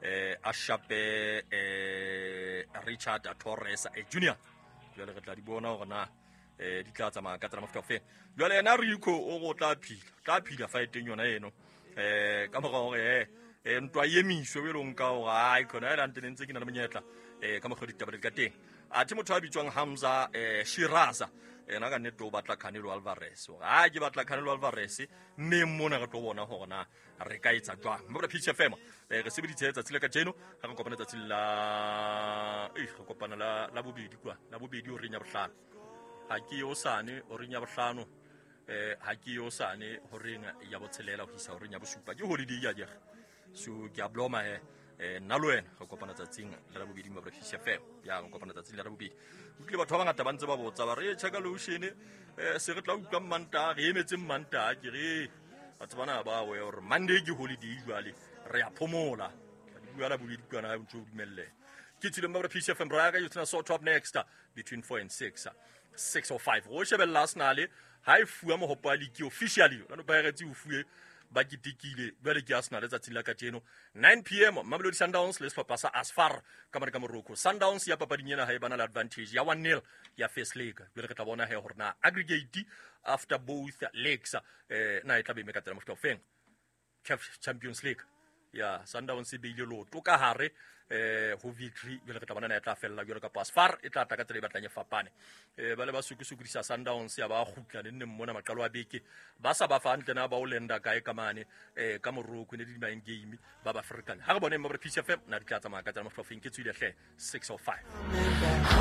A shape Richard Torres Junior. Jwale re tla di bona hore na di tla tsamaya ka tsela mofuta ofeng. Jwale yena Rico o go tla phila, tla phila fighteng yona eno. Ka mora hore ntwa e emiswe o elong ka hore ai khona ela ntse ntse ke na le monyetla ka mokgwa ditaba di ka teng. Athe motho a bitswang Hamza Shiraza ena ka nnete o batla Canelo Alvarez. Hore a ke batla Canelo Alvarez mme mona re tlo bona hore na re ka etsa jwang. Mme Peach FM re sebeditse letsatsi la kajeno ha re kopana letsatsi la re kopana la bobedi kwa la bobedi horeng ya bohlano. Ha ke osane horeng ya bohlano, ha ke osane horeng ya botshelela ho isa horeng ya bosupa. Ke holiday ya jere. So ke a bloma he nna le wena re kopana tsatsing la la bobedi mo Peach FM. Ya re kopana tsatsing la la bobedi. Utlwile batho ba bangata ba ntse ba botsa ba re check lotion se re tla utlwa Mmantaha, re emetse Mmantaha ke re batho bana ba we hore Monday ke holiday jwale re a phomola. Di bua la bobedi kwana ha ntse o dumelle. Ke tsile mo Peach FM ra ka tsena so top next between 4 and 6. 6:05. Go shebella Arsenal ha e fuwa mohopo wa league officially. Lano Pirates o fuwe ba ketekile jwale ke Arsenal letsatsing la kajeno 9 p.m. Mamelodi Sundowns le sehlopha sa Asfar ka mane ka Morocco. Sundowns ya papading ena ha e bana le advantage ya 1-0 ya first leg. Jwale re tla bona he hore na aggregate after both legs na e tla be eme ka tsela mofuta ofeng. CAF Champions League ya Sundowns e beile loto ka hare ho victory jwale re tla bona na e tla fella jwale kapa Asfar e tla tla ka tsela e batlang e fapane. Ba le ba sukusukudisa Sundowns ya ba kgutla ne nne mona maqalo a beke ba sa ba fa hantle na ba o lenda kae ka mane ka Morocco ne di main game ba ba African. Ha re bone mo re Peach FM na di tla tsamaya ka tsela mofuta ofeng ke tswile hle 6:05.